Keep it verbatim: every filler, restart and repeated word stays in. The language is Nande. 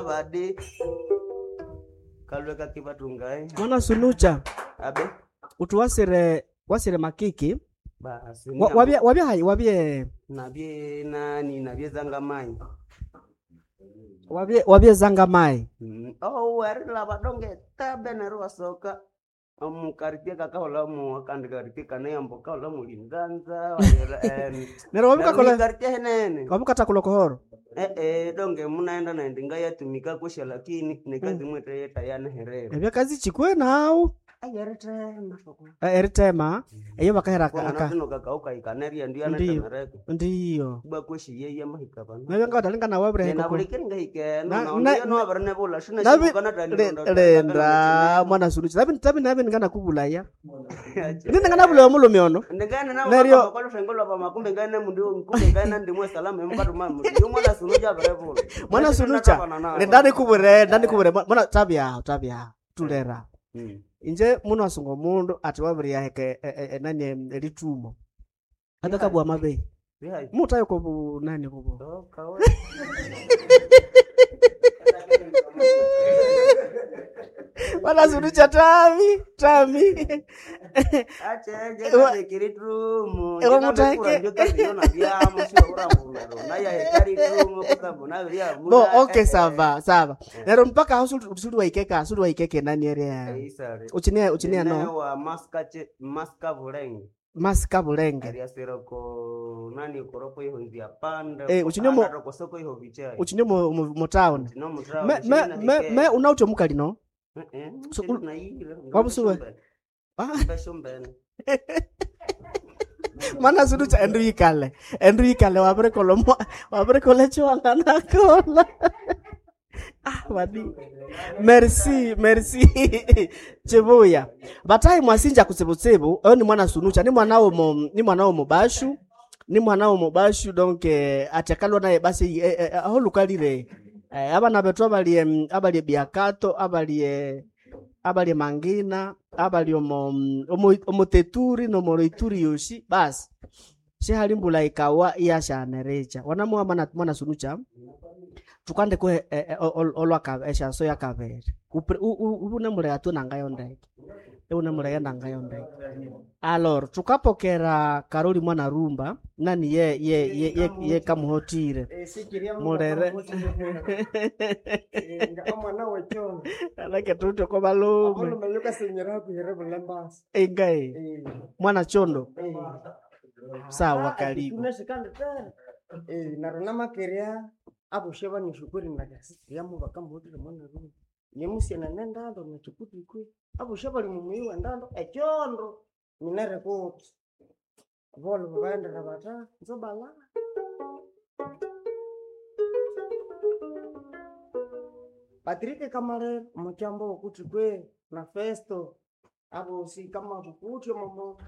Badi kalwe kakibatungae Mwana sunucha abe utu wasire wasire makiki basi Wa- wabye wabye hayi wabye nabye nani nabye zangamai wabye wabye zanga mai Mm, oh erila badonge tabe neryo wasoka omukartie kakaholamu akandi kartie kaneyambo kaholamu linzanza neryo wabikakola kartie henene wabikatakola kohoro eh eh donge munaenda naende ngayatumika kusha lakini nekazi mwete yetayaneherera ebyakazi chikwe nawu ayeritema Eh, eritema eyo bakahera aka- aka kino kakauka ikaneria Ndiyo. ndiyo ndiyo kuba kweshiye yamahika bana nabyo ngawatalinga nawe wabireheka nena bulikiri ngahikeno Na- na na- ndiyo nowabirinebula Nabi- lenda mwana sunucha nabi tabi nabi ngana kubulaya ndine ngana bulaya omulume ono ndingane Neryo- nakoluthengo makumbe ngane mundu kumbe ngane ndimwe salama emukatuma mundu yo mwana sunucha abirebula mwana sunucha lenda nikubure lenda nikubure mwana tabyaho tabyaho tulera inje muno asunga omundu ati wabiriyaheka enani elitumo akakabwa mabeyi mutayo kobu nani kobu mwana sunucha tami tami Ewa- Ewa mutake. Bo okay sava sava nero mpaka aho suli- suli waikeka suli waikeke nani area uchinia uchinia no wa maska maska bulenge masika bulenge ariasiroko nani koropo ihonzi apanda Eh, uchine mo- kosoko iho vichai uchinia mu, mu, mu town Chino mutrao, me me chino me, me unaucho mukali no Eh, eh, So, chino ul- naiyire, Wabusuwe? Ah. mbeshumbene. mana sunucha endu yikale endu yikale wabirikola mwa wabirikola chiwanganakola ah wadi merci merci chibuya batayi mwasinja kutsibutsibu oyo ni mwana sunucha ni mwana womo ni mwana womo bashu ni mwana womo bashu donc eh, ati akalwa naye basi eh, eh, aho lukalire eh, abana betu abalie mm, abalie biakato abalie abalie mangina abali omo omo omoteturi nomoroituri yoshi basi shihali mbula ikawa iyashanerecha wanamuwa mwana, mwana sunucha tukande ko eh, eh, olwa eshaso yakavere unemulea tu nangayo ndeke unemulea nangayo ndeke alor tukapokera karoli mwana rumba nani ye ye ye ye, ye kamuhotire mulere omwana wechono alake tutyo ko balume omulume yukasenyera hakuhire bulembasi ingai mwana chondo sawa karibu neryo namakerya aboshe banishukuri nakasiyamu bakamuhutire mwana rume yemusyana nendando nekikutikwe aboshe bali mumuyi wendando ekyondo minere kuti bolo babaendera bata nzobala Patrick Kamalere omukyambo wokuthi kwe na Festo abosi kama kukuthi omomo